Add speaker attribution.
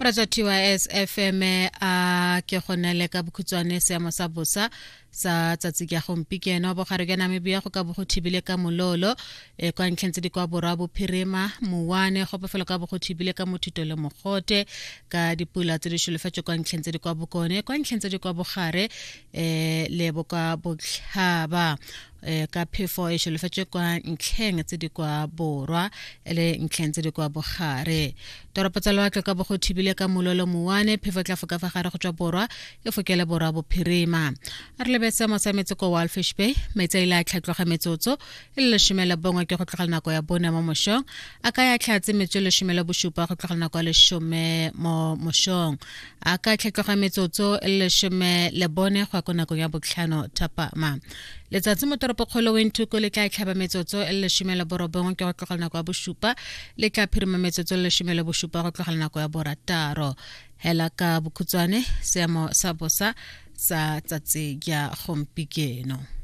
Speaker 1: Moratso TYS FM a ke go nele ka bokhutshwane seemo sa bosa sa tsatsi ka gompieno. Bogare jwa Namibia go ka bo go thibile ka mololo e kwa ntlheng tse di kwa borwa bophirima mowane go bofelo ka bo go thibile ka mothito le mogote ka dipula tse di solofetswe kwa ntlheng tse di kwa bokone, kwa ntlheng tse di kwa bogare le bokwa botlhaba ka phefo e solofetswe kwa ntlheng tse di kwa borwa le ntlheng tse di kwa bogare. Toropo tsa lewatle ka bo go thibile ka mololo mowane, phefo e tla foka fa gare go tswa borwa e fokele borwa bophirima. A re lebe seemo sa metsi ko Walfish Bay, metsi a ile a tlhatloga metsotso e le 11 ke go tlogela nako ya 4 mo mošong, a ka ya tlhatse metsotso e 17 go tlogela nako ya 10 mo mošong, a ka tlhatloga metsotso e le 14 go ya ko nakong ya 5 thapama. Letsatsi mo toropokgolo Windhoek le tla tlhaba metsotso e le 19 ke go tlogela nako ya 7, le tla phirima metsotso e le 17 go tlogela nako ya 6. Hela ka bokhutshwane seemo sa bosa sa tsatsi ya gompieno.